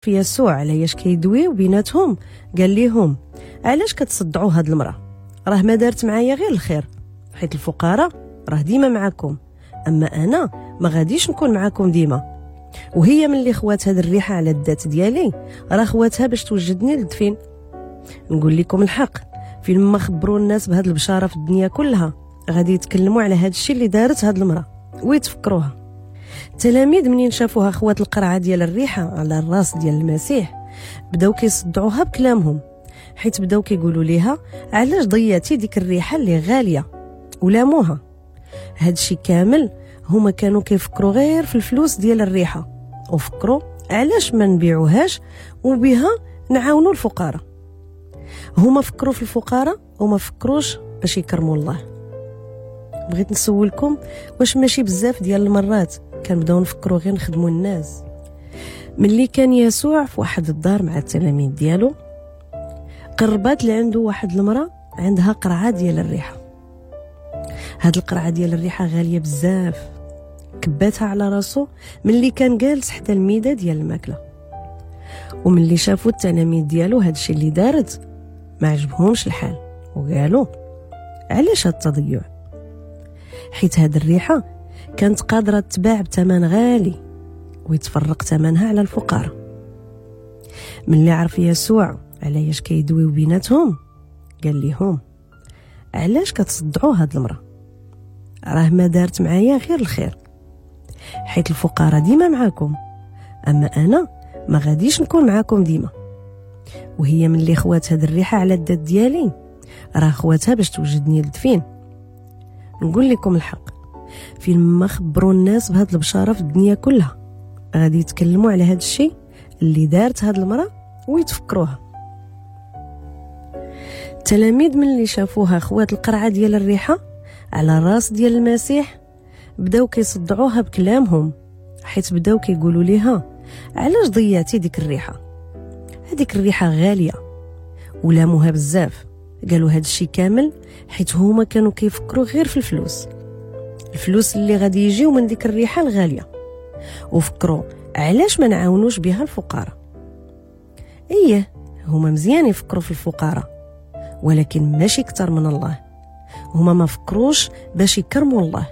في يسوع علاش كيدويو بيناتهم قال ليهم: علاش كتصدعوا هاد المراه؟ راه ما دارت معايا غير الخير، حيت الفقراء راه ديما معاكم، اما انا ما غاديش نكون معاكم ديما. وهي من اللي خوات هاد الريحه على الذات ديالي راه خواتها باش توجدني للدفين. نقول لكم الحق، فين ما خبروا الناس بهاد البشاره في الدنيا كلها غادي يتكلموا على هاد الشيء اللي دارت هاد المراه ويتفكروها. التلاميذ منين شافوها خوات القرعه ديال الريحه على الراس ديال المسيح بداو كيصدعوها بكلامهم، حيت بداو كيقولوا ليها: علاش ضيعتي ديك الريحه اللي غاليه؟ ولاموها. هادشي كامل هما كانوا كيفكروا غير في الفلوس ديال الريحه، وفكروا علاش ما نبيعوهاش وبها نعاونوا الفقراء. هما فكروا في الفقراء وما فكروش باش يكرموا الله. بغيت نسولكم، واش ماشي بزاف ديال المرات كنبداو نفكروا غير نخدموا الناس؟ ملي كان يسوع في واحد الدار مع التلاميذ ديالو، قربات لعنده واحد المرأة عندها قرعة ديال الريحة. هاد القرعة ديال الريحة غالية بزاف، كباتها على راسو ملي كان جالس حدا الميدة ديال الماكلة. وملي شافوا التلاميذ ديالو هادشي اللي دارت ما عجبهمش الحال وقالوا: علاش هاد التضيع؟ حيت هاد الريحة كانت قادرة تباع بثمن غالي ويتفرق ثمنها على الفقراء. ملي عرف يسوع علاش كيدويو بيناتهم قال لهم: علاش كتصدعوا هاد المرأة؟ راه ما دارت معايا غير الخير، حيت الفقراء ديما معاكم، اما انا ما غاديش نكون معاكم ديما. وهي من اللي خوات هاد الريحة على الذات ديالي راه خواتها باش توجدني للدفين. نقول لكم الحق، فين ما خبروا الناس بهاد البشارة في الدنيا كلها غادي يتكلموا على هاد الشيء اللي دارت هاد المرأة ويتفكروها. التلاميذ من اللي شافوها خوات القرعة ديال الريحة على الراس ديال المسيح بداو كيصدعوها بكلامهم، حيت بداو كيقولوا ليها: علاش ضيعتي ديك الريحة؟ هذيك الريحة غالية. ولاموها بزاف، قالوا هاد الشيء كامل حيت هما كانوا كيفكروا غير في الفلوس، الفلوس اللي غادي يجيو من ديك الريحة الغالية، وفكروا علاش ما نعاونوش بها الفقراء. ايه هما مزيان يفكروا في الفقراء، ولكن ماشي كتر من الله. هما ما فكروش باش يكرموا الله.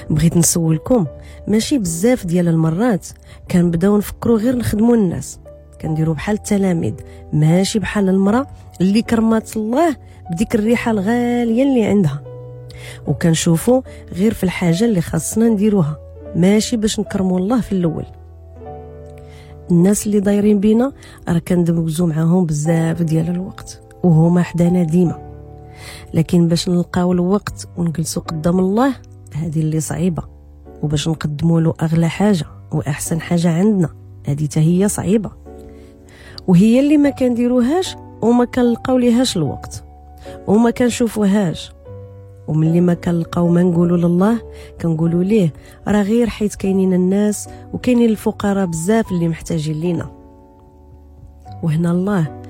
بغيت نسولكم، ماشي بزاف ديال المرات كنبداو نفكروا غير نخدموا الناس، كنديروا بحال التلاميذ، ماشي بحال المرأة اللي كرمات الله بديك الريحة الغالية اللي عندها، وكنشوفوا غير في الحاجة اللي خاصنا نديروها، ماشي باش نكرموا الله في الأول. الناس اللي دايرين بينا راه كندوزو معاهم بزاف ديال الوقت وهما حدانا ديما، لكن باش نلقاو الوقت ونجلسو قدام الله هذه اللي صعيبة، وباش نقدموا له أغلى حاجة وأحسن حاجة عندنا هذه هي صعيبة، وهي اللي ما كنديروهاش وما كنلقاو ليهاش الوقت وما كنشوفوهاش. وملي ما كنلقاو ما نقولوا لله كنقولوا ليه راه غير حيت كاينين الناس وكاينين الفقراء بزاف اللي محتاجين لينا. وهنا الله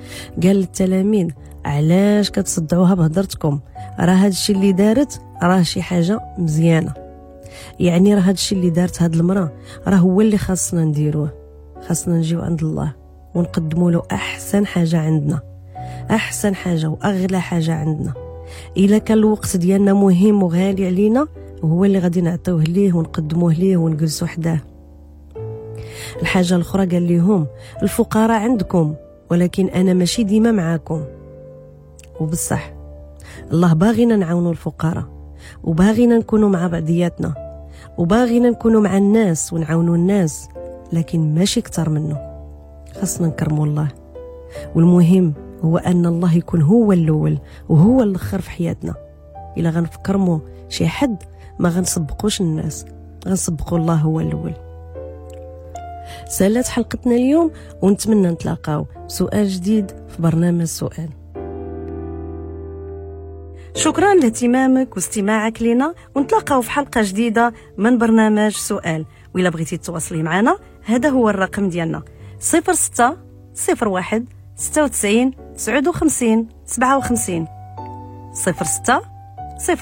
قال للتلاميذ: علاش كتصدعوها بهضرتكم؟ راه هادشي اللي دارت راه شي حاجه مزيانه، يعني راه هادشي اللي دارت هاد المراه راه هو اللي خاصنا نديروه. خاصنا نجيو عند الله ونقدموا له احسن حاجه عندنا، احسن حاجه واغلى حاجه عندنا. الا كان الوقت ديالنا مهم وغالي علينا هو اللي غادي نعطيوه ليه ونقدموه ليه ونجلسوا حداه. الحاجه الاخرى قال لهم: الفقراء عندكم ولكن انا ماشي ديما معاكم. وبصح الله باغينا نعاونوا الفقراء، وباغينا نكونوا مع بعضياتنا، وباغينا نكونوا مع الناس ونعاونوا الناس، لكن ماشي كتر منه. خاصنا نكرموا الله، والمهم هو أن الله يكون هو الأول وهو الآخر في حياتنا. إلا غنفكرمو شي حد ما غنسبقوش الناس، غنسبقوا الله هو الأول. سالت حلقتنا اليوم، ونتمنى نتلاقاو بسؤال جديد في برنامج سؤال. شكرا لاهتمامك واستماعك لنا، ونتلاقاو في حلقة جديدة من برنامج سؤال. وإلا بغيتي تتواصلي معنا هذا هو الرقم ديالنا: 06 01 96 59 57، 06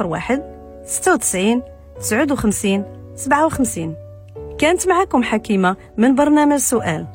01 96 59 57. كانت معكم حكيمة من برنامج سؤال.